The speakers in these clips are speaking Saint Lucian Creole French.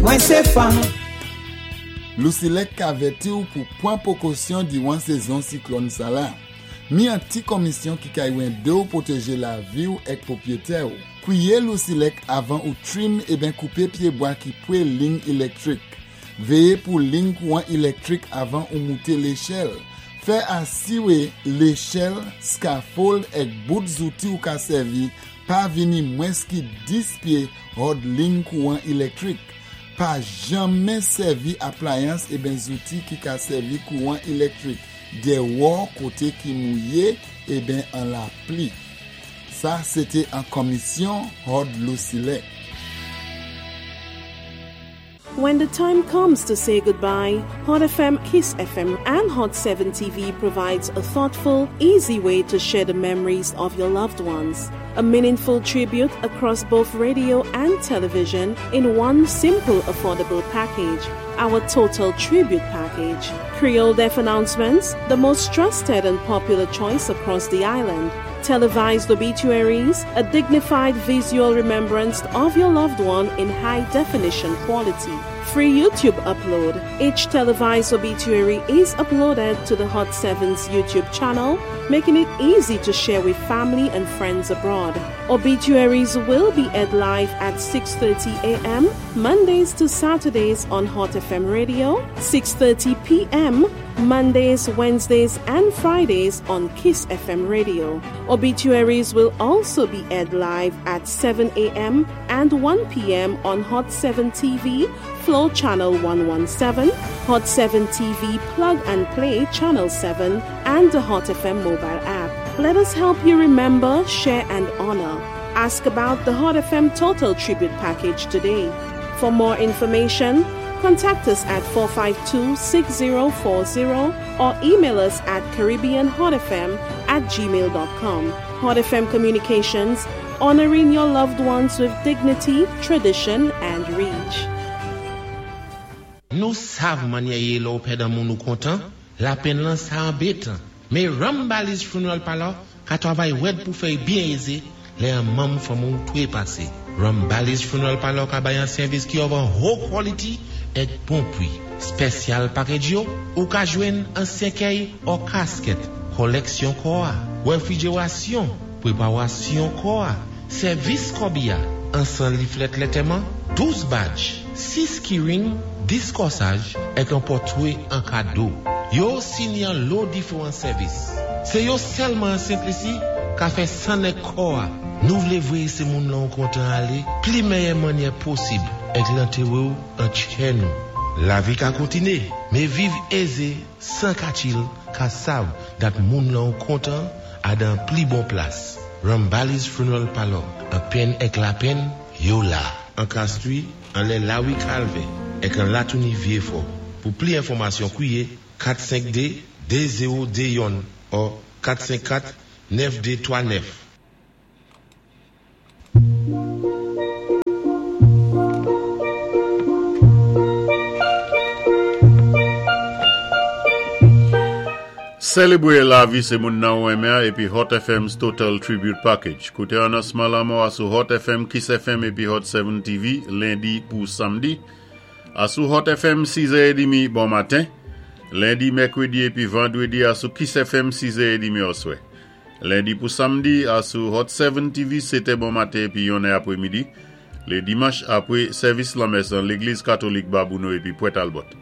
Mwen sé fanm. Lusilec ka avèti ou pou pwan pwekosyon diwan sezon siklòn sala. Mi an ti komisyon ki kay wende ou pwoteje lavi ou èk pwopyetè ou. Kwiye Lusilec avan ou trim eben koupe pyebwa ki pwe ling ilèktrik. Veye pou ling kouwan ilèktrik avan ou moute lechèl. Fè asiwe lechèl, scaffold èk bout zouti ou ka sèvi pa vini mwens ki 10 pye hòd ling kouwan ilèktrik. Pa janmen sèvi aplayans eben zouti ki ka sèvi kouwan ilèktrik dèwò kote ki mouye eben an lapli. Sa sete an komisyon hòd Lusilec. When the time comes to say goodbye, Hot FM, Kiss FM, and Hot 7 TV provides a thoughtful, easy way to share the memories of your loved ones. A meaningful tribute across both radio and television in one simple, affordable package. Our Total Tribute Package. Creole Death Announcements, the most trusted and popular choice across the island. Televised obituaries, a dignified visual remembrance of your loved one in high definition quality. Free YouTube upload. Each televised obituary is uploaded to the Hot 7's YouTube channel, making it easy to share with family and friends abroad. Obituaries will be aired live at 6:30 a.m. Mondays to Saturdays on Hot FM Radio, 6:30 p.m. Mondays, Wednesdays, and Fridays on Kiss FM Radio. Obituaries will also be aired live at 7 a.m. and 1 p.m. on Hot 7 TV, Flow Channel 117, Hot 7 TV Plug and Play Channel 7, and the Hot FM mobile app. Let us help you remember, share, and honor. Ask about the Hot FM Total Tribute Package today. For more information, contact us at 452 6040 or email us at CaribbeanHotFM at gmail.com. Hot FM Communications, honoring your loved ones with dignity, tradition, and reach. Nou sav mannyè yé lè ou pèd an moun ou kontan, lapenn lan sa anbetan. Mé Rambali's Funeral Parlor ka twavay wèd pou fè y byen ézé lè an manm fanmi w twépasé. Rambali's Funeral Parlor ka bay an sèvis ki òv an ho quality èk bon pwi. Spèsyal package yo, ou ka jwenn an sèkèy ò kaskèt, kòlèksyon kò a, wèfrijerasyon, pwepawasyon kò a, sèvis kòbi a, ansan liflèt lètèman, 12 badge, 6 keyring, 10 kòsaj, èk an pòtwé an kado. Yo osi ni an lo diféwan sèvis. Sé yo sèlman an Sent Lisi ka fè sann èk kò a. Nou vlé voyé sé moun lan ou kontan alé pli mèyè mannyè posib èk lantéwé ou an tchè nou. Lavi ka kontiné, mé viv ézé 104 il ka sav dat moun lan ou kontan a dan pli bon plas. Rambali's Funeral Parlor, an penn èk lapenn, yo la. An Castries, anlè Lawi Kalvè, èk an Latouni Vyefò. Pou pli enfòmasyon kwiye 452 2021 ò 454 9239. Selebre lavi se moun nan ou renmen an epi Hot FM's Total Tribute Package. Koute anonsman lanmò a sou Hot FM, Kiss FM epi Hot 7 TV lendi pou samdi. A sou Hot FM 6 è edimi bon maten. Lendi, mèkredi epi vandredi a sou Kiss FM 6 è edimi oswè. Lendi pou samdi a sou Hot 7 TV 7 è bon maten epi 1 è apremidi. Le dimanch apre sèvis lanmès an Legliz Katolik Babouno epi Pwèt Albòt.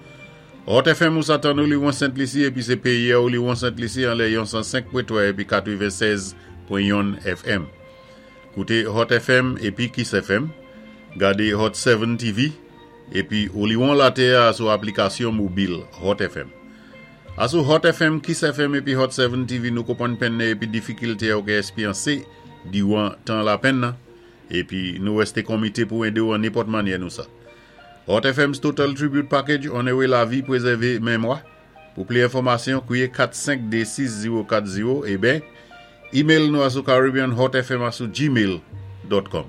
Hot FM ou sa tann ou li won Sent Lisi epi se peyè ou li won Sent Lisi anlè yon 105 pwen 3 epi 96 pwen yonn FM. Koute Hot FM epi Kiss FM, gade Hot 7 TV epi ou li won latè a sou aplikasyon mobil Hot FM. A sou Hot FM, Kiss FM epi Hot 7 TV nou konpwann penn nan epi difikilte a ou ke espyanse diwan tan lapenn nan epi nou reste konmite pou ede ou an nenpòt mannyè nou sa. Hot FM's Total Tribute Package onere lavi prezève memwa. Pou pli enfòmasyon, kwiye 452 6040 eben email nou a sou caribbeanhotfm a sou gmail dot com.